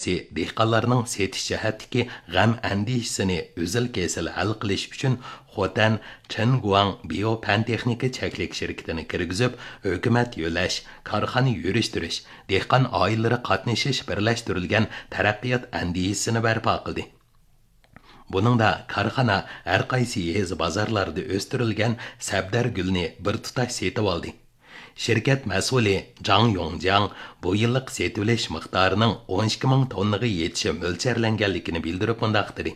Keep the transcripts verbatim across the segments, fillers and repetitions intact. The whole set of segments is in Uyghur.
دېھقانلارنىڭ سېتىش جەھەتتىكى غەم-ئەندىشىسىنى ئۈزۈل-كېسىل ھەل قىلىش ئۈچۈن، خوتەن چېنگۇاڭ بىيو پەن تېخنىكا چەكلىك شىركىتىنى كىرگۈزۈپ، ھۆكۈمەت يۆلەش، كارخانا يۈرۈشتۈرۈش، دېھقان ئائىلىلىرى قاتنىشىش بىرلەشتۈرۈلگەن تەرەققىيات ئەندىزىسىنى بەرپا قىلدى. بۇنىڭدا كارخانا ھەر قايسى يېزا بازارلاردا ئۆستۈرۈلگەن سەبدەر گۈلنى بىر تۇتاش سېتىۋالدى. شىركەت مەسئۇلى جاڭ يوڭجياڭ بۇ يىللىق سېتىۋېلىش مىقدارىنىڭ ئون ئىككى مىڭ توننىغا يېتىشى مۆلچەرلەنگەنلىكىنى بىلدۈرۈپ مۇنداق دېدى: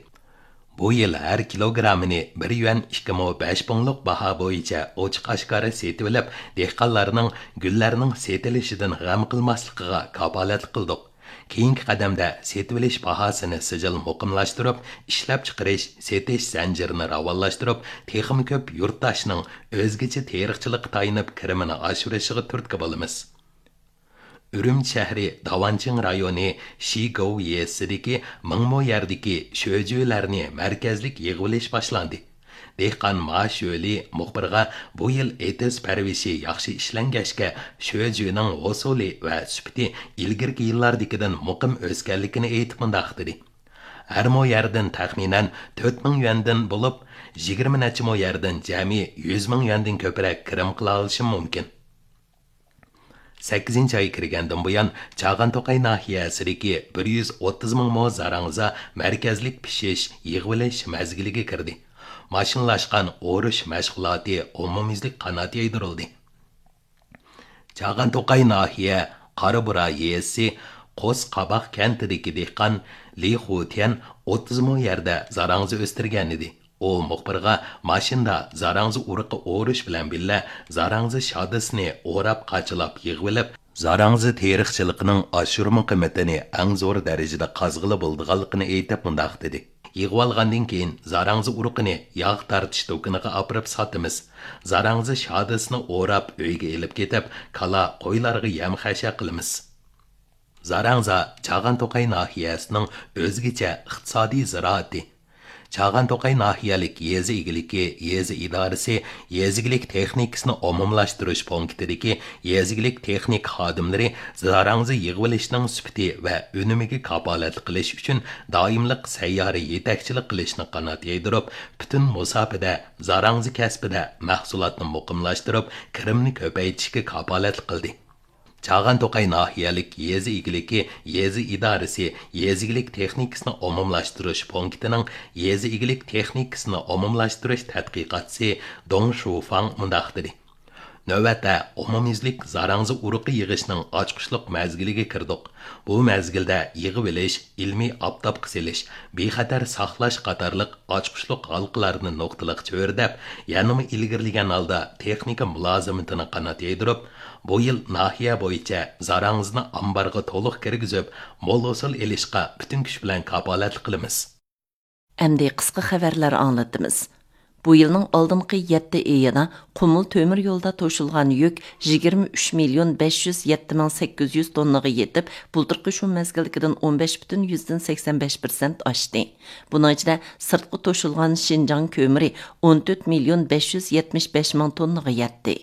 بۇ يىل ھەر كىلوگرامىنى بىر يۈەن ئىككى مو بەش پۇڭلۇق باھا بويىچە ئوچۇق ئاشكارا سېتىۋېلىپ، دېھقانلارنىڭ گۈللەرنىڭ سېتىلىشىدىن غەم قىلماسلىقىغا كاپالەتلىك قىلدۇق. كېيىنكى قەدەمدە سېتىۋېلىش باھاسىنى سىجىل مۇقىملاشتۇرۇپ، ئىشلەپچىقىرىش، سېتىش زەنجىرىنى راۋانلاشتۇرۇپ، تېخىمۇ كۆپ يۇرتداشنىڭ ئۆزگىچە تېرىقچىلىققا تايىنىپ كىرىمىنى ئاشۇرۇشىغا تۈرتكە بولىمىز. ئۈرۈمچى شەھىرى داۋانچىڭ رايونى شىگوۋ يېزىسىدىكى مىڭ مو يەردىكى شۆجۈلەرنى مەركەزلىك يىغىۋېلىش باشلاندى. دېھقان ما شۆلى مۇخبىرغا بۇ يىل ئېتىز پەرۋىشى ياخشى ئىشلەنگەچكە، شۆجۈنىڭ ھوسۇلى ۋە سۈپىتى ئىلگىرىكى يىللاردىكىدىن مۇقىم ئۆسكەنلىكىنى ئېيتىپ مۇنداق دېدى: ھەر مو يەردىن تەخمىنەن تۆت مىڭ يۈەندىن بولۇپ، يىگىرمە نەچچە مو يەردىن جەمئىي يۈز مىڭ يۈەندىن كۆپرەك كىرىم قىلالىشىم مۇمكىن. سەككىزىنچى ئاي كىرگەندىن بۇيان، چاغان توقاي ناھىيەسىدىكى بىر يۈز ئوتتۇز مىڭ مو زاراڭزا مەركەزلىك پىشىش، يىغىۋېلىش مەزگىلىگە كىردى. ماشىنىلاشقان ئورۇش مەشغۇلاتى ئومۇميۈزلۈك قانات يايدۇرۇلدى. چاغان توقاي ناھىيە قارابۇرا يېزىسى قوس قاباق كەنتىدىكى دېھقان لى خۇتيەن ئوتتۇز مو يەردە زاراڭزا ئۆستۈرگەنىدى. ئۇ مۇخبىرغا ماشىنىدا زاراڭزا ئۇرۇقى ئورۇش بىلەن بىللە زاراڭزا شادىسىنى ئوراپ، قاچىلاپ يىغىۋېلىپ، زاراڭزا تېرىقچىلىقىنىڭ ئاشۇرما قىممىتىنى ئەڭ زور دەرىجىدە قازغىلى بولىدىغانلىقىنى ئېيتىپ مۇنداق دېدى: يىغىۋالغاندىن كېيىن زاراڭزا ئۇرۇقىنى ياغ تارتىش دۇكىنىغا ئاپىرىپ ساتىمىز. زاراڭزا شادىسىنى ئوراپ ئۆيگە ئېلىپ كېتىپ، كالا، قويلارغا يەم-خەشەك قىلىمىز. زاراڭزا چاغان توقاي ناھىيەسىنىڭ ئۆزگىچە ئىقتىسادىي زىرائىتى. چاغان توقاي ناھىيەلىك يېزا ئىگىلىكى يېزا ئىدارىسى يېزا ئىگىلىك تېخنىكىسىنى ئومۇملاشتۇرۇش پونكىتىدىكى يېزا ئىگىلىك تېخنىكا خادىملىرى زاراڭزا يىغىۋېلىشنىڭ سۈپىتى ۋە ئۈنۈمىگە كاپالەتلىك قىلىش ئۈچۈن دائىملىق سەييارە يېتەكچىلىك قىلىشنى قانات يايدۇرۇپ، پۈتۈن مۇساپىدە زاراڭزا كەسپىدە مەھسۇلاتنى مۇقىملاشتۇرۇپ، كىرىمنى كۆپەيتىشكە كاپالەتلىك قىلدى. چاغان توقاي ناھىيەلىك يېزا ئىگىلىكى يېزا ئىدارىسى يېزا ئىگىلىك تېخنىكىسىنى ئومۇملاشتۇرۇش پونكىتىنىڭ يېزا ئىگىلىك تېخنىكىسىنى ئومۇملاشتۇرۇش تەتقىقاتچىسى دۇڭ شۇفاڭ مۇنداق دېدى: نۆۋەتتە ئومۇميۈزلۈك زاراڭزا ئۇرۇقى يىغىشنىڭ ئاچقۇچلۇق مەزگىلىگە كىردۇق. بۇ مەزگىلدە يىغىۋېلىش، ئىلمىي ئاپتاپقا سېلىش، بىخەتەر ساقلاش قاتارلىق ئاچقۇچلۇق ھالقىلارنى نۇقتىلىق چۆرىدەپ، يەنىمۇ ئىلگىرىلىگەن ھالدا تېخنىكا مۇلازىمىتىنى قانات يايدۇرۇپ، بۇ يىل ناھىيە بويىچە زاراڭزىنى ئامبارغا تولۇق كىرگۈزۈپ، مول ھوسۇل ئېلىشقا پۈتۈن كۈچ بىلەن كاپالەتلىك قىلىمىز. ئەمدى قىسقا خەۋەرلەر ئاڭلىتىمىز. بۇ يىلنىڭ ئالدىنقى يەتتە ئېيىدا قۇمۇل تۆمۈر يولىدا توشۇلغان يۈك يىگىرمە ئۈچ مىليون بەش يۈز يەتتە مىڭ سەككىز يۈز توننىغا يېتىپ، بۇلتۇرقى شۇ مەزگىلدىكىدىن ئون بەش پۈتۈن يۈزدىن سەكسەن بەش پىرسەنت ئاشتى. بۇنىڭ ئىچىدە سىرتقا توشۇلغان شىنجاڭ كۆمۈرى ئون تۆت مىليون بەش يۈز يەتمىش بەش مىڭ توننىغا يەتتى.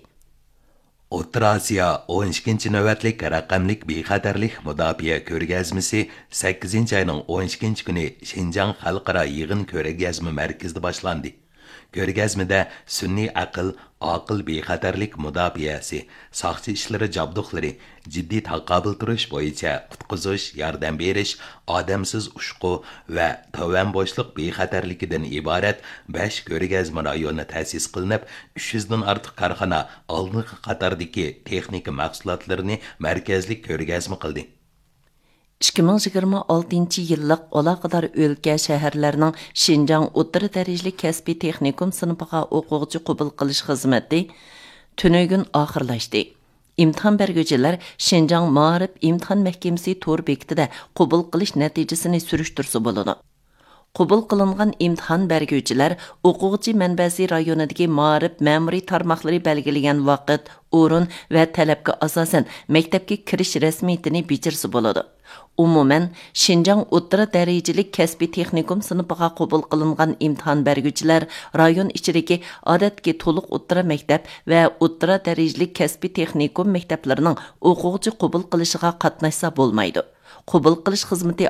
ئوتتۇرا ئاسىيا ئون ئىككىنچى نۆۋەتلىك رەقەملىك بىخەتەرلىك مۇداپىئە كۆرگەزمىسى سەككىزىنچى ئاينىڭ ئون ئىككىنچى كۈنى شىنجاڭ خەلقئارا يىغىن كۆرگەزمە مەركىزىدە باشلاندى. كۆرگەزمىدە سۈنئىي ئەقىل، ئاقىل بىخەتەرلىك مۇداپىئەسى، ساقچى ئىشلىرى جابدۇقلىرى، جىددىي تاقابىل تۇرۇش بويىچە قۇتقۇزۇش، ياردەم بېرىش، ئادەمسىز ئۇچقۇ ۋە تۆۋەن بوشلۇق بىخەتەرلىكىدىن ئىبارەت بەش كۆرگەزمە رايونى تەسىس قىلىنىپ، ئۈچ يۈزدىن ئارتۇق كارخانا ئالدىنقى قاتاردىكى تېخنىكا مەھسۇلاتلىرىنى مەركەزلىك كۆرگەزمە قىلدى. ئىككى مىڭ يىگىرمە ئالتىنچى يىللىق ئالاقىدار ئۆلكە، شەھەرلەرنىڭ شىنجاڭ ئوتتۇرا دەرىجىلىك كەسپىي تېخنىكوم سىنىپىغا ئوقۇغۇچى قوبۇل قىلىش خىزمىتى تۈنۈگۈن ئاخىرلاشتى. ئىمتىھان بەرگۈچىلەر شىنجاڭ مائارىپ ئىمتىھان مەھكىمىسى تور بېكىتىدە قوبۇل قىلىش نەتىجىسىنى سۈرۈشتۈرسە بولىدۇ. قوبۇل قىلىنغان ئىمتىھان بەرگۈچىلەر ئوقۇغۇچى مەنبەسى رايونىدىكى مائارىپ مەمۇرىي تارماقلىرى بەلگىلىگەن ۋاقىت، ئورۇن ۋە تەلەپكە ئاساسەن مەكتەپكە كىرىش رەسمىيىتىنى بېجىرسە بولىدۇ. ئومۇمەن، شىنجاڭ ئوتتۇرا دەرىجىلىك كەسپىي تېخنىكوم سىنىپىغا قوبۇل قىلىنغان ئىمتىھان بەرگۈچىلەر رايون ئىچىدىكى ئادەتتىكى تولۇق ئوتتۇرا مەكتەپ ۋە ئوتتۇرا دەرىجىلىك كەسپىي تېخنىكوم مەكتەپلىرىنىڭ ئوقۇغۇچى قوبۇل قىلىشىغا قاتناشسا بولمايدۇ. قوبۇل قىلىش خىزمىتى